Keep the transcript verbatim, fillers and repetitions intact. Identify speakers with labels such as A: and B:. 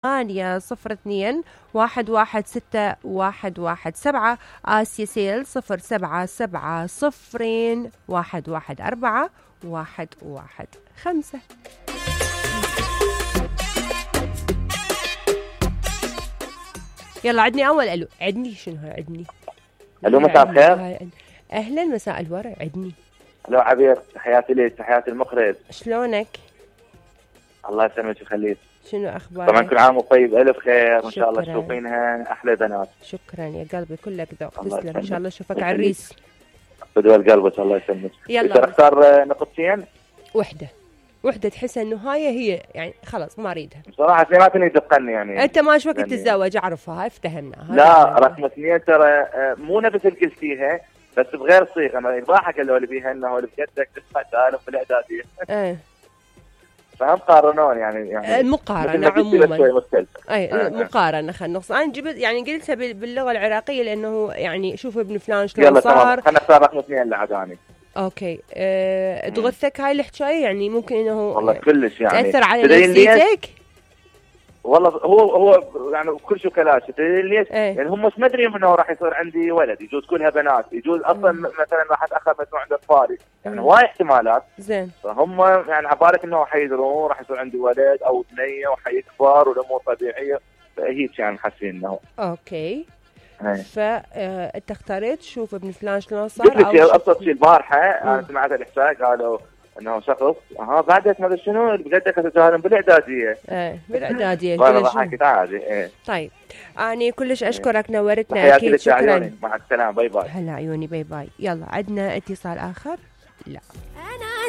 A: ثمانية صفر اثنين واحد واحد ستة واحد واحد سبعة. آسيا سيل صفر سبعة سبعة صفرين واحد واحد أربعة واحد واحد خمسة. يلا عدني أول ألو. عدني شنو هاي عدني؟
B: ألو مساء الخير.
A: أهلا مساء الورع. عدني.
B: ألو عبير، تحياتي لك، تحياتي المخرج.
A: شلونك؟
B: الله يسلمك ويخليك.
A: شنو أخبارك؟
B: طبعا كل عام وطيب، ألف خير وإن شاء الله تشوفينها أحلى بنات.
A: شكرا يا قلبي، كلك ذوق. تسلم. إن شاء الله أشوفك عريس.
B: بدو قلبك الله يسلمك.
A: يلا
B: اختار نقطتين.
A: وحدة وحدة تحس انه هاي هي يعني خلاص ما اريدها.
B: بصراحة اثنين ما تني تدقني يعني.
A: انت ما وقت تتزوج اعرفها، هاي افتهمنا.
B: لا رقم اثنين ترى مو نفس اللي قلتيها بس بغير صيغة. انا الضاحك اللي هو اللي بيها انه اللي بجدك تسمع تعرف بالاعدادية. ايه فهم قارنون يعني يعني
A: المقارنة عموما. اي
B: آه.
A: المقارنة خلينا نقص. انا جبت يعني قلتها باللغة العراقية لانه يعني شوف ابن فلان شلون صار.
B: خلينا نختار رقم اثنين اللي عجاني.
A: اوكي أه تغثك هاي الحكايه يعني ممكن انه
B: والله كلش يعني
A: تاثر على نفسيتك.
B: والله هو هو يعني كل شيء كلاش تدري ليش؟
A: ايه؟
B: يعني هم مش مدري انه راح يصير عندي ولد، يجوز كلها بنات، يجوز اصلا مم. مثلا راح اتاخر مجموعه عند اطفالي، يعني هواي احتمالات.
A: زين.
B: فهم يعني عبالك انه حيدرون راح يصير عندي ولد او بنيه وحيكبر والامور طبيعيه، فهيك يعني حاسين انه.
A: اوكي.
B: هي.
A: فانت اختاريت شوف ابن فلان شلون صار
B: او شيء ابسط شيء البارحه انا سمعت الاحساء قالوا انه شخص ها بعدك ما ادري شنو بجدك تتهاون بالاعداديه.
A: ايه بالاعداديه.
B: والله ضحكت عادي. ايه
A: طيب اني كلش اشكرك نورتنا اكيد. شكرا.
B: مع السلامه. باي باي.
A: هلا عيوني. باي باي. يلا عندنا اتصال اخر. لا